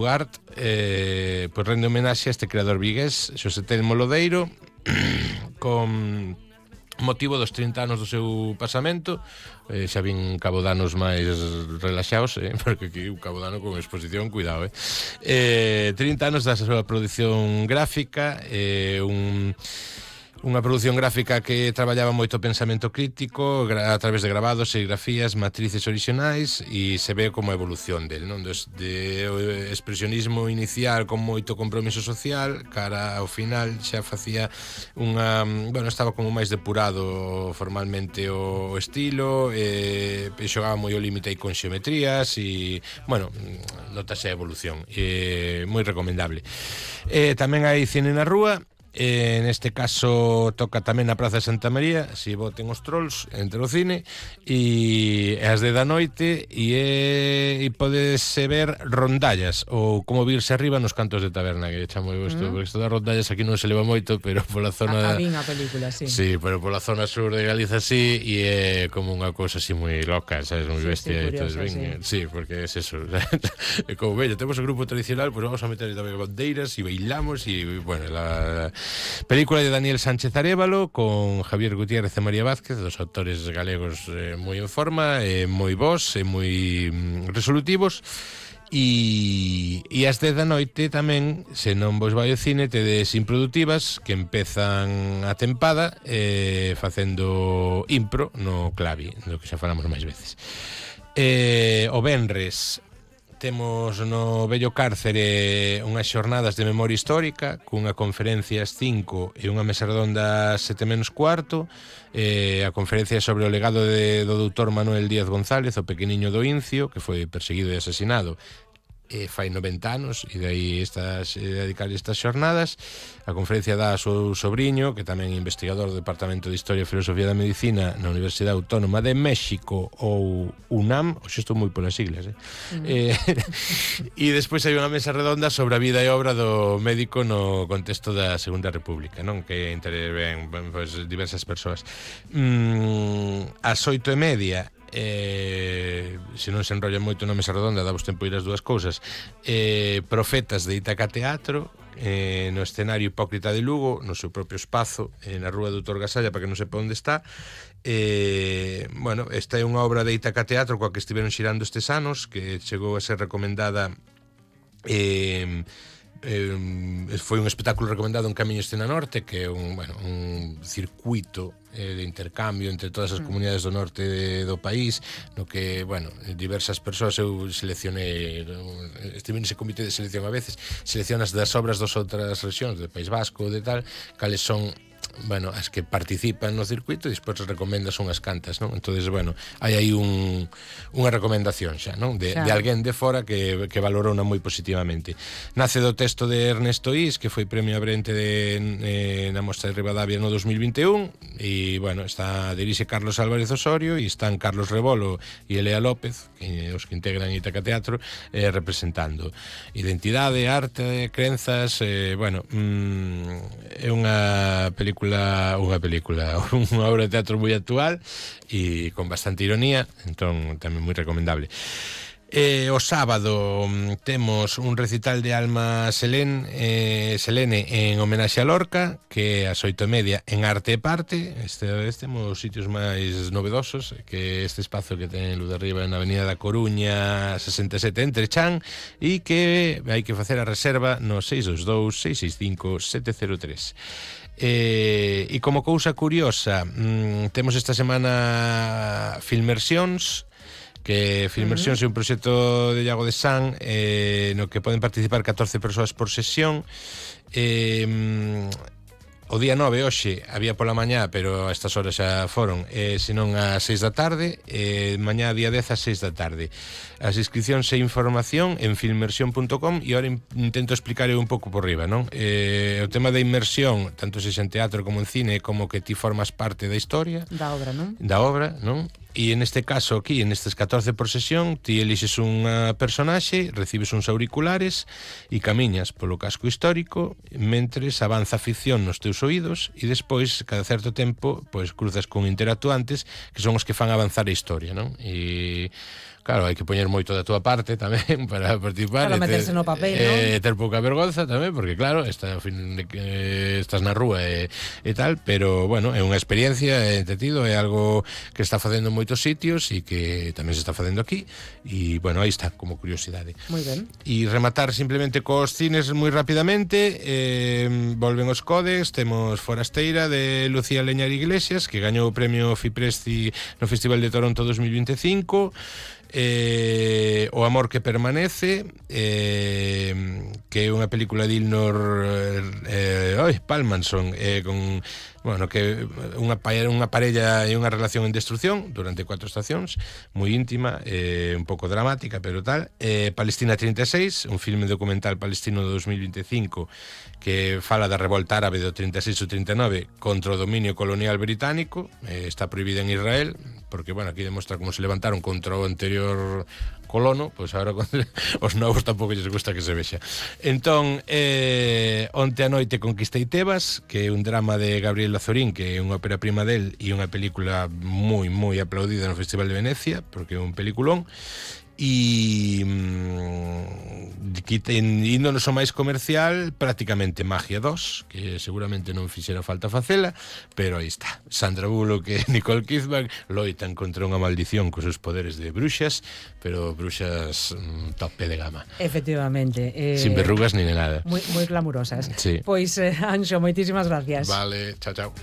Ugart pois rende homenaxe a este creador vigués, Xosé Telmo Lodeiro, con motivo dos 30 anos do seu pasamento. Xa vin Cabo Danos máis relaxados, porque aquí un Cabo Dano con exposición, cuidado, 30 anos da súa produción gráfica, unha produción gráfica que traballaba moito pensamento crítico a través de grabados, serigrafías, matrices orixinais, e se ve como a evolución del, non? Desde o expresionismo inicial con moito compromiso social, cara ao final xa facía unha... Bueno, estaba como máis depurado formalmente o estilo, xogaba moi o límite aí con xeometrías e, bueno, notase a evolución, moi recomendable. Tamén hai cine na rúa. Neste caso toca tamén na Praza de Santa María, si voten os trolls entre o cine, e as 10 da noite, e podese ver Rondallas, ou Como virse arriba nos cantos de taberna, que chamo isto, porque isto das rondallas aquí non se leva moito, pero pola zona... A película, sí. Sí, pero pola zona sur de Galiza sí, e é como unha cousa así moi loca, sabes, moi bestia, curiosa, sí, porque é eso. É como, veña, temos o grupo tradicional, pues vamos a meter tamén bandeiras e bailamos, e, bueno, la película de Daniel Sánchez Arévalo con Javier Gutiérrez e María Vázquez, dos autores galegos moi en forma, moi bons e moi resolutivos. E as 10 da noite tamén, se non vos vai ao cine, tedes Improductivas, que empezan a tempada facendo impro no clavi, do que xa falamos máis veces. O venres temos no Vello Cárcere unhas xornadas de memoria histórica, cunha conferencia ás 5 e unha mesa redonda ás 7 menos cuarto. A conferencia sobre o legado do doutor Manuel Díaz González, o pequeniño do Incio, que foi perseguido e asesinado fai 90 anos, e dai dedicar estas xornadas. A conferencia dá a seu sobrinho, que tamén é investigador do Departamento de Historia e Filosofía da Medicina na Universidade Autónoma de México, ou UNAM, hoxe estou moi polas siglas, e despois hai unha mesa redonda sobre a vida e obra do médico no contexto da Segunda República, non? Que interven pues, diversas persoas. Ás 8:30, se non se enrolla moito na mesa redonda, damos tempo ir as dúas cousas. Profetas de Ítaca Teatro, no escenario Hipócrita de Lugo, no seu propio espazo, na rúa Doutor Gasalla, para que non sepa onde está. Bueno, esta é unha obra de Ítaca Teatro coa que estiveron xirando estes anos, que chegou a ser recomendada, foi un espectáculo recomendado en Camiño Escena Norte, que é un circuito de intercambio entre todas as comunidades do norte do país, no que, bueno, diversas persoas, eu seleccionei, estive nese comité de selección a veces, seleccionas das obras das outras rexións, do País Vasco, de tal, cales son, bueno, as que participan no circuito, e despois recomendas unhas cantas, non? Entonces, bueno, hai aí unha recomendación xa, non? De alguén de fora que valorona moi positivamente. Nace do texto de Ernesto Is, que foi premio Abrente na Mostra de Ribadavia no 2021, e, bueno, dirixe Carlos Álvarez Osorio, e están Carlos Rebolo e Elea López, os que integran Ítaca Teatro, representando identidade, arte, crenzas, bueno, é unha obra de teatro moi actual e con bastante ironía, entón tamén moi recomendable. O sábado temos un recital de Alma Selene en homenaxe a Lorca, que é ás 8:30 en Arte e Parte. Temos sitios máis novedosos, que este espazo que ten luz de arriba na Avenida da Coruña 67 entre Chan, e que hai que facer a reserva no 622-665-703. E como cousa curiosa, temos esta semana Filmersións, que Filmersións é un proxecto de Iago de San, no que poden participar 14 persoas por sesión. O día 9, hoxe, había pola mañá, pero a estas horas xa foron, senón ás 6 da tarde, mañá día 10 ás 6 da tarde. As inscripcións e información en filmersión.com, e ahora intento explicar un pouco por riba, non? O tema da inmersión, tanto se xa en teatro como en cine, como que ti formas parte da historia. Da obra, non? Da obra, non? E en este caso aquí, en estes 14 por sesión, ti elixes unha personaxe, recibes uns auriculares e camiñas polo casco histórico mentres avanza a ficción nos teus oídos, e despois, cada certo tempo, pois cruzas con interactuantes que son os que fan avanzar a historia, non? E Claro, hai que poñer moito da túa parte tamén para participar. Claro, meterse no papel, non? Ter pouca vergonza tamén, porque claro, estás na rúa e tal, pero bueno, é unha experiencia, é entretido, é algo que está facendo en moitos sitios e que tamén se está facendo aquí, e bueno, aí está, como curiosidade. Moi ben. E rematar simplemente cos cines moi rapidamente. Volven os Codex, temos Forasteira de Lucía Leñar Iglesias, que gañou o premio Fipresti no Festival de Toronto 2025. O amor que permanece, que é unha película de Ilnur Palmanson, con que unha parella e unha relación en destrucción durante 4 estacións, moi íntima, un pouco dramática, pero tal. Palestina 36, un filme documental palestino de 2025 que fala da revolta árabe do 36 ou 39 contra o dominio colonial británico. Está prohibida en Israel porque, bueno, aquí demostra como se levantaron contra o anterior colono, pois agora os novos tampouco lles gusta que se vexa. Entón, Onte a noite conquistei Tebas, que é un drama de Gabriel Lazorín, que é unha ópera prima del e unha película moi, moi aplaudida no Festival de Venecia, porque é un peliculón. E índonos o máis comercial, prácticamente Magia 2, que seguramente non fixera falta facela, pero aí está, Sandra Bullock e Nicole Kidman loitan contra unha maldición cos seus poderes de bruxas, pero bruxas tope de gama, efectivamente, sin verrugas ni nada, moi glamurosas. Sí. Pois, Anxo, moitísimas gracias. Vale, chao, chao.